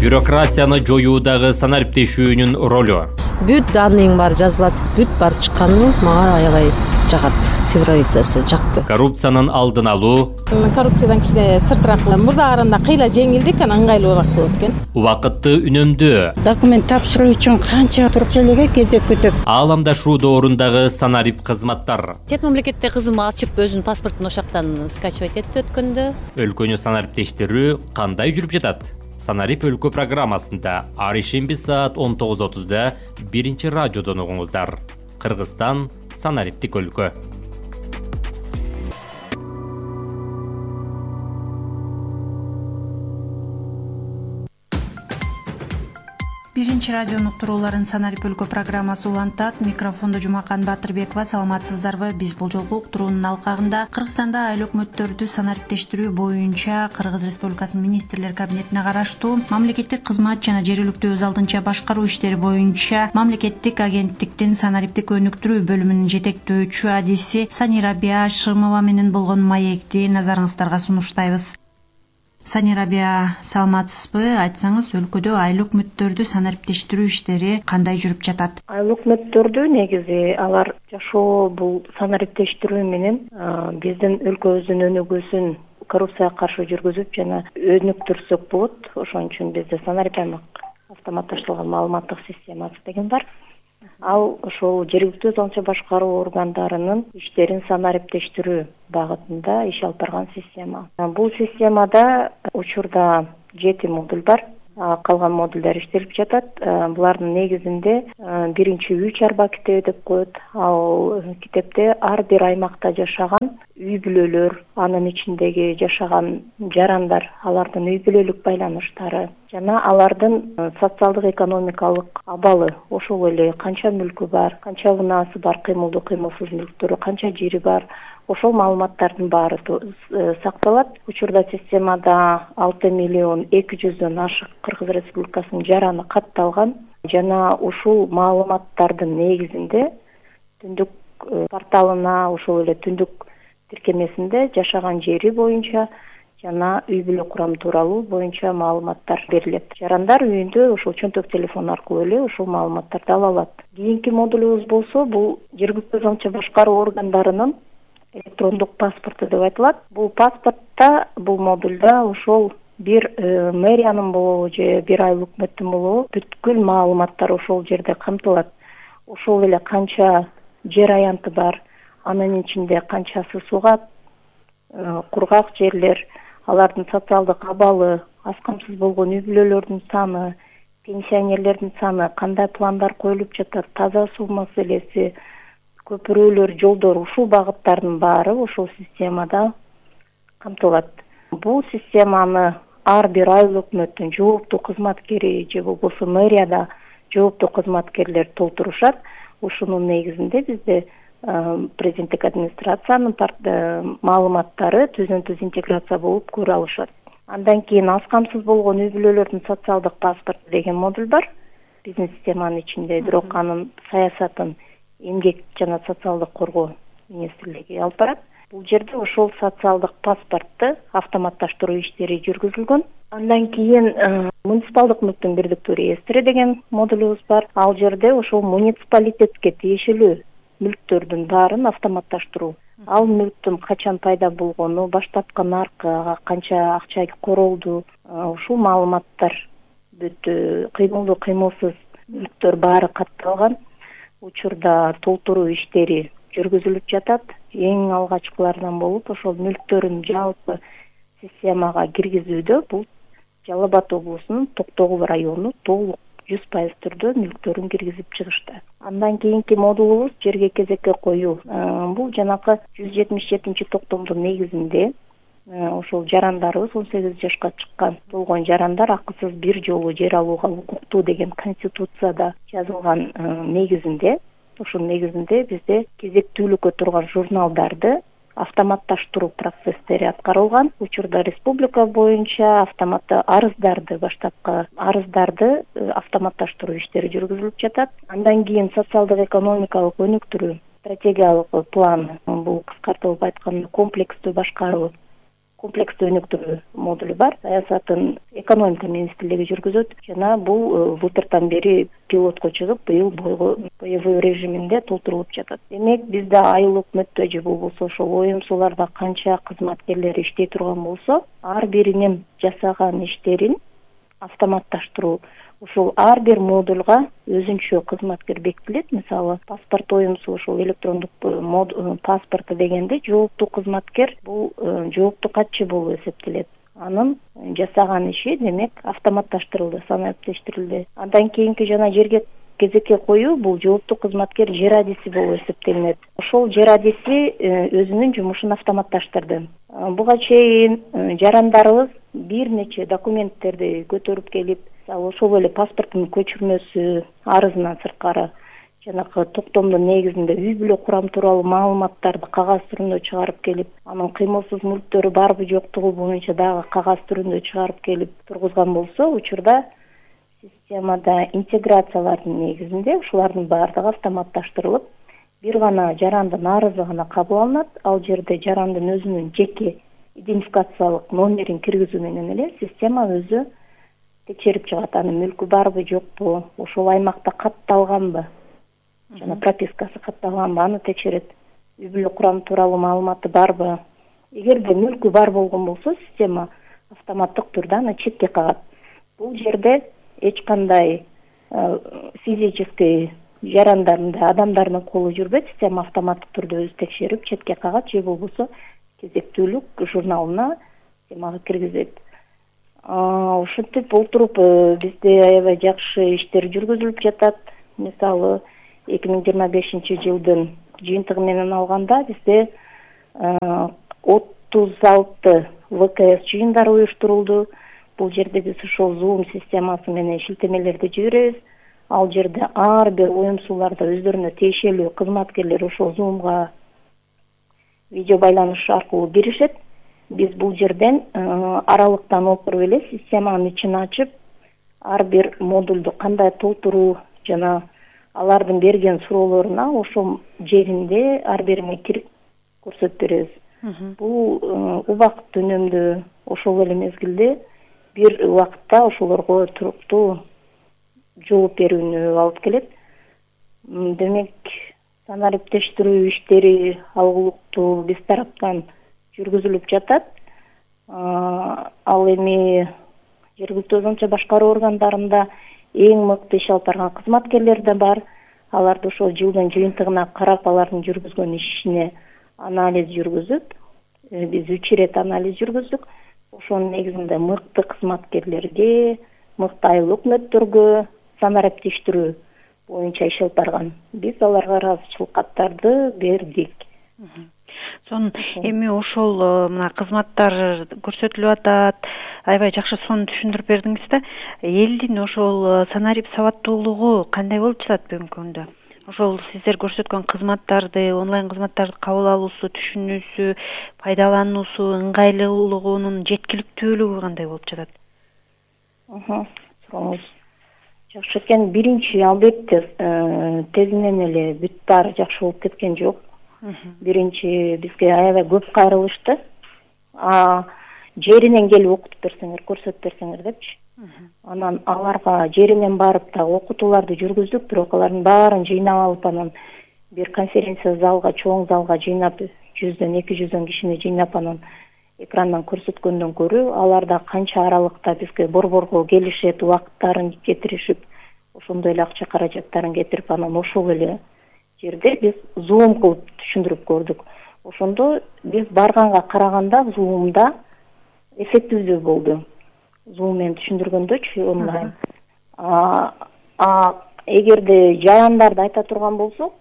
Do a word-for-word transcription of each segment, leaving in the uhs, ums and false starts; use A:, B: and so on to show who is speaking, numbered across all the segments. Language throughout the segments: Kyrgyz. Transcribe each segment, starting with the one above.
A: Бюрократияны жоюудагы санариптешүүнүн ролу.
B: Бүт данныйың бар жазылат, бүт бар чыкканы мага аябай жагат. Цифровизациясы жакты.
A: Коррупциянын алдын алуу.
C: Коррупциядан кичине сыртыраак, мурдагаарында кыйла жеңилдик, анан ыңгайлуураак болот экен.
A: Убакытты үнөмдөө.
D: Документ тапшыруу үчүн канча турчелеге кезек күтүп.
A: Ааламдашуу доорундагы санарип кызматтар.
E: Чет мамлекетте кызым ачып өзүнүн паспортун ошактан скачивать этти өткөндө.
A: Өлкөнү санариптештирүү кандай жүрүп жатат? Санарип өлкө программасында ар ишемби саат он тогуз отузда биринчи радиодон угуңуздар. Кыргызстан санариптик өлкө.
F: Биринчи радионун уктурууларын Санарип өлкө программасы улантат. Микрофондо Жумакан Батырбекова. Саламатсыздарбы? Биз бул жолку уктуруунун алкагында Кыргызстанда айыл өкмөттөрдү санариптештирүү боюнча Кыргыз Республикасынын министрлер кабинетине караштуу мамлекеттик кызмат жана жергиликтүү өз алдынча башкаруу иштери боюнча мамлекеттик агенттиктин санариптик өнүктүрүү бөлүмүнүн жетектөөчү адиси Санирабия Шымова менен болгон маекти назарыңыздарга сунуштайбыз. Санирабия, саламатсызбы? Айтсаңыз, өлкөдө айыл өкмөттөрдү санариптештирүү иштери кандай жүрүп жатат?
G: Айыл өкмөттөрдү негизи алар жашоо бул санариптештирүү менен биздин өлкөбүздүн өнүгүүсүн коррупцияга каршы жүргүзүп жана өнүктүрсөк болот. Ошон үчүн бизде санариптик автоматташтырылган маалыматтык системасы деген бар. Ал ошол жергиликтүү өз алдынча башкаруу органдарынын иштерин санариптештирүү багытында иш алып барган система. Бул системада учурда жети модуль бар. Калган модулдар иштелип жатат. Булардын негизинде биринчи үч арба китеби деп коет. Ал китепте ар бир аймакта жашаган үй бүлөлөр, анын ичиндеги жашаган жарандар, алардын үй бүлөлүк байланыштары жана алардын социалдык экономикалык абалы, ошол эле канча мүлкү бар, канча унаасы бар, кыймылдуу кыймылсыз мүлктөрү, канча жери бар, ошол маалыматтардын баары сакталат. Учурда системада алты миллион эки жүздөн ашык Кыргыз Республикасынын жараны катталган жана ушул маалыматтардын негизинде түндүк порталына, ошол эле түндүк тиркемесинде жашаган жери боюнча жана үй бүлө курамы тууралуу боюнча маалыматтар берилет. Жарандар үйүндө ошол чөнтөк телефон аркылуу эле ошол маалыматтарды ала алат. Кийинки модулубуз болсо, бул жергиликтүү өз алдынча башкаруу органдарынын электрондук паспорту деп айтылат. Бул паспортто, бул модулда ошол бир мэриянын болобу же бир айыл өкмөттүн болобу бүткүл маалыматтар ошол жерде камтылат. Ошол эле канча жер аянты бар, анын ичинде канчасы суга кургак жерлер, алардын социалдык абалы, аз камсыз болгон үй бүлөлөрдүн саны, пенсионерлердин саны, кандай пландар коюлуп жатат, таза суу маселеси, көпүрөлөр, жолдор, ушул багыттардын баары ошол системада камтылат. Бул системаны ар бир айыл өкмөттүн жооптуу кызматкери же болбосо мэрияда жооптуу кызматкерлер толтурушат. Ушунун негизинде бизде президенттик администрациянын маалыматтары түзүн-түз интеграция болуп көрө алышат. Андан кийин аз камсыз болгон үй бүлөлөрдүн социалдык паспорту деген модуль бар биздин системанын ичинде, бирок анын саясатын эмгек жана социалдык коргоо министрлиги алып барат. Бул жерде ошол социалдык паспортту автоматташтыруу иштери жүргүзүлгөн. Андан кийин муниципалдык мүлктүн бирдиктүү реестри деген модулубуз бар. Ал жерде ошол муниципалитетке тиешелүү мүлктөрдүн баарын автоматташтыруу. Ал мүлктүн качан пайда болгону, баштапкы наркы, канча акча королду, ушул маалыматтар бүт кыймылдуу кыймылсыз мүлктөр баары катталган. Учурда толтуруу иштери жүргүзүлүп жатат. Эң алгачкылардан болуп ошол мүлктөрүн жалпы системага киргизүүдө бул Жалал Абад облусунун Токтогул району толук жүз пайыз түрдө мүлктөрүн киргизип чыгышты. Андан кийинки модулубуз жерге кезекке коюу. Бул жанакы жүз жетимиш жетинчи токтомдун негизинде ошол жарандарыбыз он сегиз жашка чыккан болгон жарандар акысыз бир жолу жер алууга укуктуу деген конституцияда жазылган негизинде, ошол негизинде бизде кезектүүлүккө турган журналдарды автоматташтыруу процесстери аткарылган. Учурда республика боюнча автоматты арыздарды, баштапкы арыздарды автоматташтыруу иштери жүргүзүлүп жатат. Андан кийин социалдык экономикалык өнүктүрүү стратегиялык план, бул кыскартылып айтканда комплекстүү башкаруу комплекстүү өнүктүрүү модулу бар. Саясатын экономика министрлиги жүргүзөт жана бул былтыртан бери пилотко чыгып, быйыл боевой режиминде толтурулуп жатат. Демек, бизде айлык өкмөттө же болбосо ошол оюмсууларда канча кызматкерлер иштей турган болсо, ар биринин жасаган иштерин автоматташтыруу, ушул ар бир модульга өзүнчө кызматкер бекитилет. Мисалы, паспорт оюмсу ошол электрондук паспорту дегенде жооптуу кызматкер бул жооптуу катчы болуп эсептелет. Анын жасаган иши демек автоматташтырылды, санариптештирилди. Андан кийинки жана жерге кезекке коюу бул жооптуу кызматкер жер адиси болуп эсептелинет. Ошол жер адиси өзүнүн жумушун автоматташтырды. Буга чейин жарандарыбыз бир нече документтерди көтөрүп келип, ошол эле паспорттун көчүрмөсү, арызынан сырткары жанагы токтомдун негизинде үй бүлө курам тууралуу маалыматтарды кагаз түрүндө чыгарып келип, анын кыймылсыз мүлктөрү барбы жоктугу боюнча дагы кагаз түрүндө чыгарып келип тургузган болсо, учурда системада интеграциялардын негизинде ушулардын баардыгы автоматташтырылып, бир гана жарандын арызы гана кабыл алынат. Ал жерде жарандын өзүнүн жеке идентификациялык номерин киргизүү менен эле система өзү текшерип чыгат, анын мүлкү барбы жокпу, ошол аймакта катталганбы, жана пропискасы катталганбы, аны текшерет. Үй бүлө курам тууралуу маалыматы барбы. Эгерде мүлкү бар болгон болсо, система автоматтык түрдө аны четке кагат. Бул жерде эч кандай физический жарандардын, адамдардын колу жүрбөйт. Система автоматтык түрдө өзү текшерип, четке кагат же болбосо кезектүүлүк журналына системага киргизет. Ушинтип олтуруп бизде аябай жакшы иштер жүргүзүлүп жатат. Мисалы, эки миң жыйырма бешинчи жылдын жыйынтыгы менен алганда бизде отуз алты вэ ка эс жыйындары уюштурулду. Бул жерде биз ошол Zoom системасы менен шилтемелерди жиберебиз. Ал жерде ар бир оюмсууларда өздөрүнө тиешелүү кызматкерлер ошол Zoomга видео байланыш аркылуу киришет. Биз бул жерден аралыктан отуруп эле системанын ичин ачып, ар бир модулду кандай толтуруу жана алардын берген суроолоруна ошол жеринде ар бирине кирип көрсөтүп беребиз. Бул убакыт үнөмдүү, ошол эле мезгилде бир убакытта ошолорго туруктуу жооп берүүнү алып келет. Демек, санариптештирүү иштери алгылыктуу биз тараптан жүргүзүлүп жатат. Ал эми жергиликтүү өзүнчө башкаруу органдарында эң мыкты иш алып барган кызматкерлер да бар. Аларды ошол жылдын жыйынтыгына карап, алардын жүргүзгөн ишине анализ жүргүзүп, биз үч ирет анализ жүргүздүк. Ошонун негизинде мыкты кызматкерлерге, мыкты айыл өкмөттөргө санариптештирүү боюнча иш алып барган. Биз аларга ыраазычылык каттарды бердик.
F: Сонун эми ошол мына кызматтар көрсөтүлүп атат. Аябай жакшы сонун түшүндүрүп бердиңиз да. Элдин ошол санарип сабаттуулугу кандай болуп жатат бүгүнкү күндө? Ошол сиздер көрсөткөн кызматтарды, онлайн кызматтарды кабыл алуусу, түшүнүүсү, пайдалануусу, ыңгайлуулугунун жеткиликтүүлүгү кандай болуп жатат?
G: Сурооңуз жакшы экен. Биринчи, албетте, тезинен эле бүт баары жакшы болуп кеткен жок. Биринчи, бизге аябай көп кайрылышты. Жеринен келип окутуп берсеңер, көрсөтүп берсеңер депчи. Анан аларга жеринен барып да окутууларды жүргүздүк, бирок алардын баарын жыйнап алып, анан бир конференция залга, чоң залга жыйнап, жүздөн эки жүздөн кишини жыйнап, анан экрандан көрсөткөндөн көрө, аларда канча аралыкта бизге борборго келишет, убакыттарын кетиришип, ошондой эле акча каражаттарын кетирип, анан ошол эле жерде биз Zoom кылып түшүндүрүп көрдүк. Ошондо биз барганга караганда Zoom'да эффективдүү болду. Zoom менен түшүндүргөндөчү онлайн. А эгерде жарандарды айта турган болсок,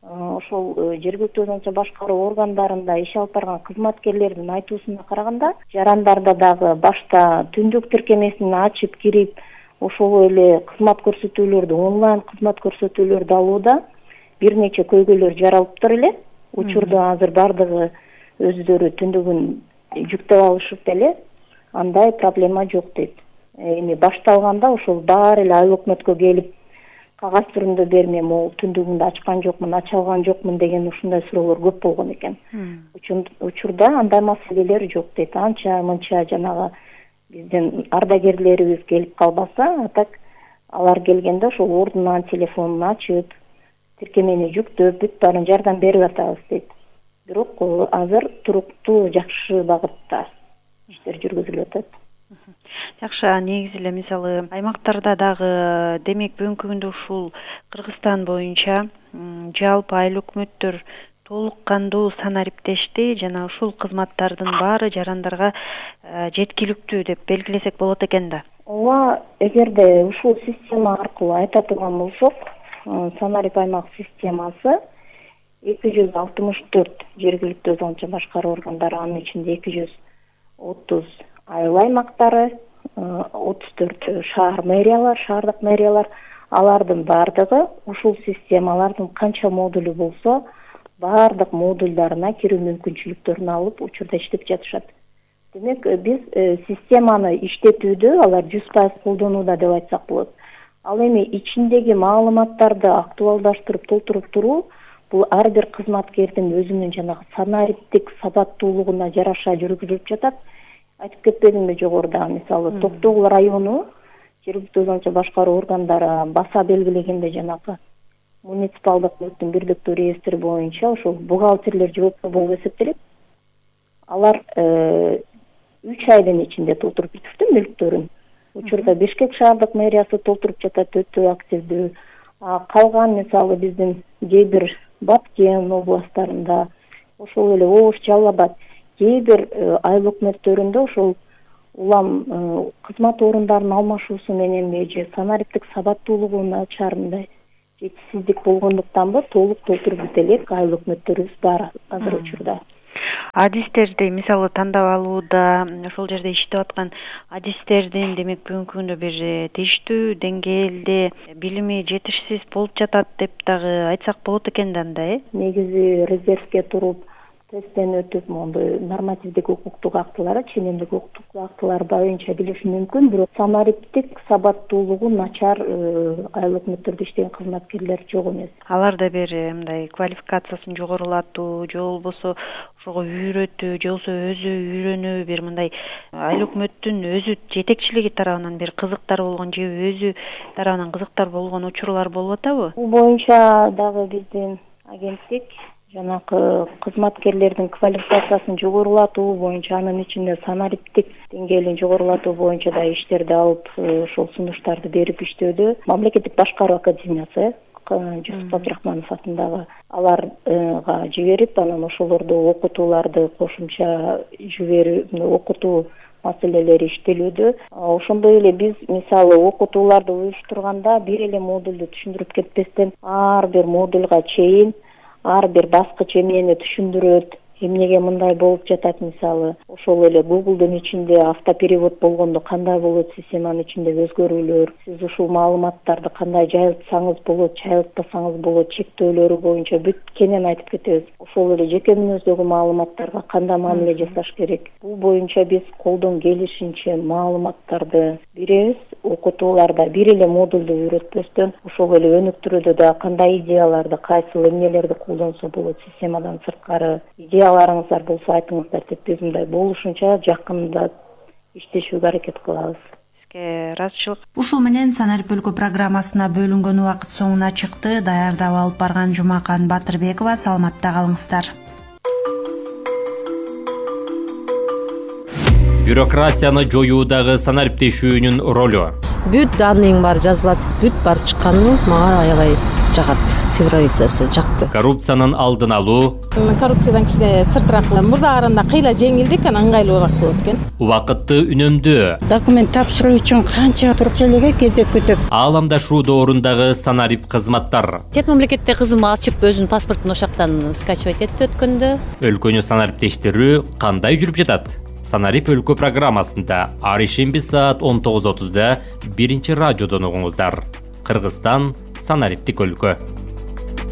G: ошол жергиликтүү өзүнчө башкаруу органдарында иш алып барган кызматкерлердин айтуусуна караганда, жарандарда дагы башта түндүк тиркемесин ачып кирип, ошол эле кызмат көрсөтүүлөрдү, онлайн кызмат көрсөтүүлөрдү алууда бир нече көйгөйлөр жаралыптыр эле. Учурда азыр бардыгы өздөрү түндүгүн жүктөп алышып эле, андай проблема жок дейт. Эми башталганда ошол баары эле айыл өкмөткө келип кагаз түрүндө берме, могул түндүгүндө ачкан жокмун, ача алган жокмун деген ушундай суроолор көп болгон экен. Учурда андай маселелер жок дейт. Анча мынча жанагы биздин ардагерлерибиз келип калбаса, а так алар келгенде ошол ордунан телефонун ачып, тиркемени жүктөп, бүт баарын жардам берип атабыз дейт. Бирок азыр туруктуу жакшы багытта иштер жүргүзүлүп атат.
F: Жакшы, негизи эле мисалы аймактарда дагы демек бүгүнкү күндө ушул Кыргызстан боюнча жалпы айыл өкмөттөр толук кандуу санариптешти жана ушул кызматтардын баары жарандарга жеткиликтүү деп белгилесек болот экен да.
G: Ооба, эгерде ушул система аркылуу айта турган болсок, санарип аймак системасы эки жүз алтымыш төрт жергиликтүү өз алынча башкаруу органдары, анын ичинде эки жүз отуз айыл аймактары, отуз төрт шаар мэриялар, шаардык мэриялар, алардын баардыгы ушул системалардын канча модулу болсо, баардык модульдарына кирүү мүмкүнчүлүктөрүн алып учурда иштеп жатышат. Демек, биз системаны иштетүүдө алар жүз пайыз колдонууда деп айтсак болот. Ал эми ичиндеги маалыматтарды актуалдаштырып, толтуруп туруу бул ар бир кызматкердин өзүнүн жанагы санариптик сабаттуулугуна жараша жүргүзүлүп жатат. Айтып кетпедимби жогоруда, мисалы Токтогул району жергиликтүү өз алынча башкаруу органдары баса белгилегенде жанагы муниципалдык мүлктүн бирдиктүү реестри боюнча ошол бухгалтерлер жооптуу болуп эсептелет. Алар үч айдын ичинде толтуруп бүтүптү мүлктөрүн. Учурда Бишкек шаардык мэриясы толтуруп жатат, өтө активдүү. Калган мисалы биздин кээ бир Баткен областарында, ошол эле Ош, Жалал Абад, кээ бир айыл өкмөттөрүндө ошол улам кызмат орундарынын алмашуусу мененби же санариптик сабаттуулугу начарындай жетишсиздик болгондуктанбы толук толтуруп бүт элек айыл өкмөттөрүбүз бар азыр учурда.
F: Адистерди мисалы тандап алууда ошол жерде иштеп аткан адистердин демек бүгүнкү күндө бир тийиштүү деңгээлде билими жетишсиз болуп жатат деп дагы айтсак болот экен да анда, э?
G: Негизи резервге туруп тесттен өтүп, мондой нормативдик укуктук актылары, ченемдик укуктук актылары боюнча билиш мүмкүн, бирок санариптик сабаттуулугу начар айыл өкмөттөрдө иштеген кызматкерлер жок эмес.
F: Аларда бир мындай квалификациясын жогорулатуу, же болбосо ошого үйрөтүү, же болбосо өзү үйрөнүү, бир мындай айыл өкмөттүн өзү жетекчилиги тарабынан бир кызыктар болгон, же өзү тарабынан кызыктар болгон учурлар болуп атабы?
G: Бул боюнча дагы биздин агенттик жанагы кызматкерлердин квалификациясын жогорулатуу боюнча, анын ичинде санариптик деңгээлин жогорулатуу боюнча да иштерди алып, ошол сунуштарды берип иштөөдө. Мамлекеттик башкаруу академиясы Жусуп Абдрахманов атындагы аларга жиберип, анан ошолорду окутууларды кошумча жиберип, окутуу маселелери иштелүүдө. Ошондой эле биз мисалы окутууларды уюштурганда бир эле модулду түшүндүрүп кетпестен ар бир модульга чейин ар бир баскыч эмнени түшүндүрөт, эмнеге мындай болуп жатат, мисалы ошол эле Google'дун ичинде автоперевод болгондо кандай болот, системанын ичиндеги өзгөрүүлөр, сиз ушул маалыматтарды кандай жайылтсаңыз болот, жайылтпасаңыз болот, чектөөлөрү боюнча бүт кенен айтып кетебиз. Ошол эле жеке мүнөздөгү маалыматтарга кандай мамиле жасаш керек. Бул боюнча биз колдон келишинче маалыматтарды беребиз. Окутууларда бир эле модулду үйрөтпөстөн ошол эле өнүктүрүүдө да кандай идеяларды, кайсыл эмнелерди колдонсо болот, системадан сырткары идеяларыңыздар болсо айтыңыздар деп биз мындай болушунча жакында иштешүүгө аракет кылабыз.
F: Сизге ыраазычылык.
H: Ушул менен Санарип өлкө программасына бөлүнгөн убакыт соңуна чыкты. Даярдап алып барган Жумакан Батырбекова. Саламатта калыңыздар.
A: Бюрократияны жоюудагы санариптешүүнүн ролу.
B: Бүт данныйың бар жазылат, бүт бар чыкканы мага аябай жагат. Цифровизациясы жакты.
A: Коррупциянын алдын алуу.
C: Коррупциядан кичине сыртыраак, мурдаарында кыйла жеңилдик, анан ыңгайлуураак болот экен.
A: Убакытты үнөмдөө.
D: Документ тапшыруу үчүн канча туруп элеге кезек күтүп.
A: Ааламдашуу доорундагы санарип кызматтар.
E: Чет мамлекетте кызым ачып өзүнүн паспортун ошактан скачивать этти өткөндө.
A: Өлкөнү санариптештирүү кандай жүрүп жатат? Санарип өлкө программасында ар ишемби саат он тогуз отузда биринчи радиодон угуңуздар. Кыргызстан санариптик өлкө.